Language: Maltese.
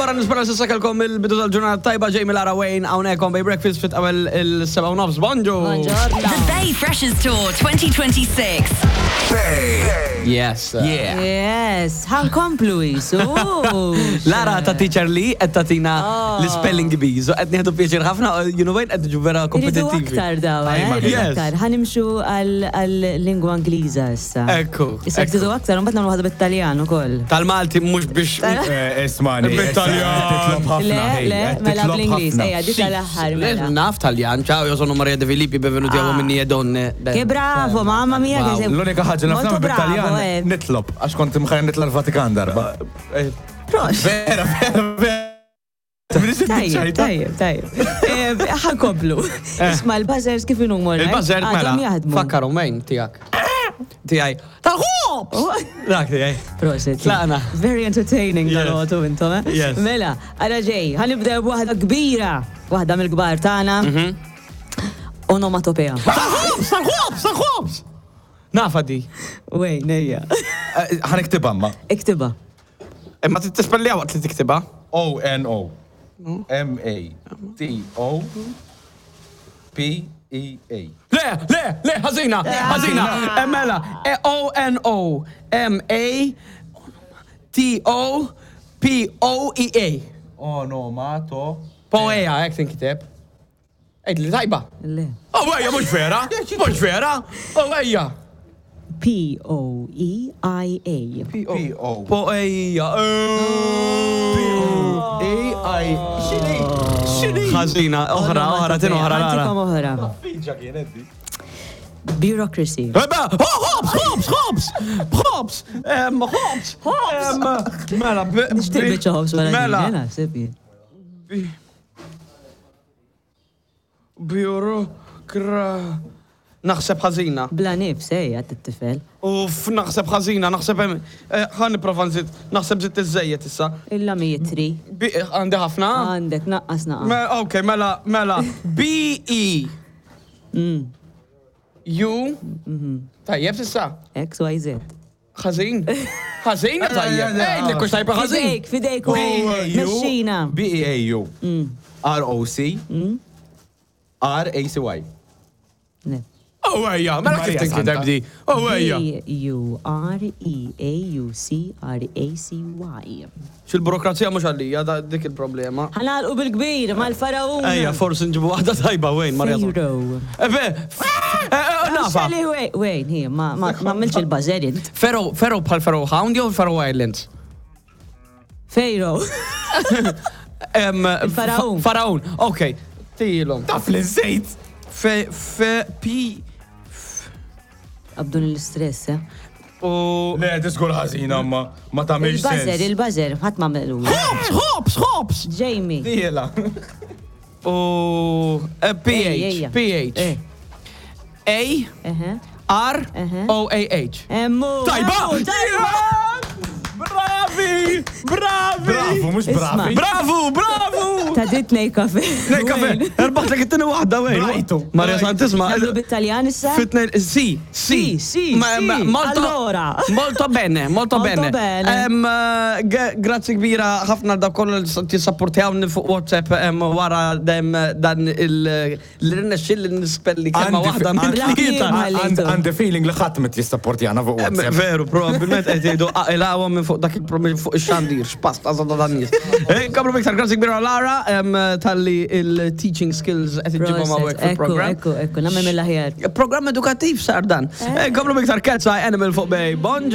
oħra nispera s'issa kellkom il-bidu tal-ġurnata tajba Jamie Lara Wayne hawnhekk on Bay Breakfast fit qabel il-7 u nofs. Bonġu! Buongiorno. The Bay Freshers Tour 2026. Yes. Yeah. Yes, ħankomplu jisu. Lara ta' teacher li qed tagħtina Oh. l-spelling bees u qed nieħdu pjaċir ħafna you know qed niġu vera Iridu kompetittivi. aktar daw, eh? Ajma, Iridu yes. aktar. Ħanimxu għal-lingwa Ingliża issa. Ekku, Issa ekku. tridu aktar, mbagħad nagħmlu waħda bit-Taljan ukoll. Tal-Malti mhux biex Eh, Ismani. Bit-Taljan. Titlob ħafna. Le, ħej, le, qed mela titlob bl-Ingliż, ħafna. ejja, di tal-aħħar mela. Naf Taljan, ciao, io sono Maria De Filippi, benvenuti a Ah. Uomini e Donne. Che bravo, mamma mia, Wow. che sei L-unika ħaġa naf Molto nagħmel bravo, bit-Taljan eh. nitlob għax kont imħajr nitla l-Vatikan darba. Eh, Prost. Vera, vera, vera. Minix Tajjeb, id-ċajta. tajjeb, tajjeb. Eh, Ħankomplu. Isma' l-buzzers kif inhom Eh. Il-buzzer mela. jaħdmu. Fakkaru mejn tiegħek. Tiegħi. Tal-ħobs! Dak tiegħi. Proset. Tlaqna. Very entertaining Yes. dal-għotu intom, eh? Yes. Mela, għara ġej, ħanibdew b'waħda kbira, waħda mill-kbar tagħna. Mhm. Onomatopea. Tal-ħobs, tal-ħobs, tal-ħobs! Nafa di. Wej, nejja. Eh, Ħaniktibha ma. Iktiba. Imma tispellija waqt li tiktibha. O N O M A T O P E A. Le, le, le, ħażina, ħażina. Eh, Mela, O N O M A T O P O E A. Onomato. Poeja, hekk tinkiteb. Ejt li tajba. Le. Oh, ejja, mhux vera, mhux vera. Oh, ejja. P-O-E-I-A. P O Poeja. P O A I. Xini? Xini? Ħażina, oħra, oħra, tin oħra, Lara. Għantikom oħra. Fiġa kienet di. Bureaucracy. Eba, oh, hops, hops, hops, hops, em, hops, hops. Mela, b- Nixtieq b- biċċa ħobs wara Mela, din, eh, naħseb jien. Biurokra. Naħseb ħażina. Bla nifs, ejja, t-tifel. Uff, naħseb ħażina, naħseb hemm. eh, Ħa nipprova nżid, naħseb żidt iżejjed issa. Illa mitri. Bi- Għandi ħafna? Għandek, naqqas naqqas. Me- Ok, mela, mela. B E Mm. U. Tajjeb s'issa. X, Y, Z. Ħażin. Ħażin tajjeb. Ej, li kux tajba ħażin. Fidejk, fidejk, B E A U. Mexxina. B E A U. R O C. R A C Y. Le. Oh, ejja, mela kif Maria tinkiteb Santa. di? Oh, ejja. B-U-R-E-A-U-C-R-A-C-Y. Xil-burokrazija mhux għalija, da- dik il-problema. Ħanalqu bil-kbir mal-faraun. Ejja, forsi nġibu waħda tajba wejn, Marja. Pharaoh. Ebe, nafa. Xali, wejn, wejn, hi, ma ma ma għamilx il-buzzer int. Ferro, Ferro bħal Ferro Hound jew Ferro Islands? Pharaoh. Em, Il-Faraun. fa- Faraun, ok. Tilhom. Taf li żejt. F, F, P, Abdun l-istress, eh. U. Le, tiskur ħażina ma ma tagħmilx Il-buzzer, sens. il-buzzer, ħadd ma għamelu. Hops, hops, hops! Jamie. Diela. U. eh, P, Ejja, H, ejja. P, H. Eh. A, Eħe. R, Eħe. O, A, H. Emmu. Tajba! emmu, Tajba! Bravi! Bravi! Bravu, mhux Isma. bravi. Bravu, bravu! Ta' dit nej kafe. Nej, kafe, erbaħtlek it-tini waħda wejn. Brajtu. Marja Santisma. Nagħmlu bit-Taljan issa? Fitne, si, si. Si, si, Ma- si. ma- Molto, Allora. Molto bene, molto Molto bene. bene. Em, eh, ge- Grazzi kbira ħafna da kollu li tissapportjawni fuq WhatsApp em, wara dem dan il l-rinexxil li nispelli kelma Għandi- waħda minn għandi- tlieta. Għandi- Għandi feeling li ħadd mit jissapportjana fuq Em, WhatsApp. Veru, probabilment qed jgħidu aqilawhom minn fuq dak il-problem fuq ix-xandir, x'pasta żodda dan nies. Eh, Kabru iktar grazzi kbira Lara em, talli il-teaching skills qed iġibhom hawnhekk Proset, Ekku, fil-programm. ekku, ekku, nagħmel mill-aħjar. Programm edukattiv sar dan. Eh, Komplu miktar Cat's Eye Animal fuq Bay. Bonġu.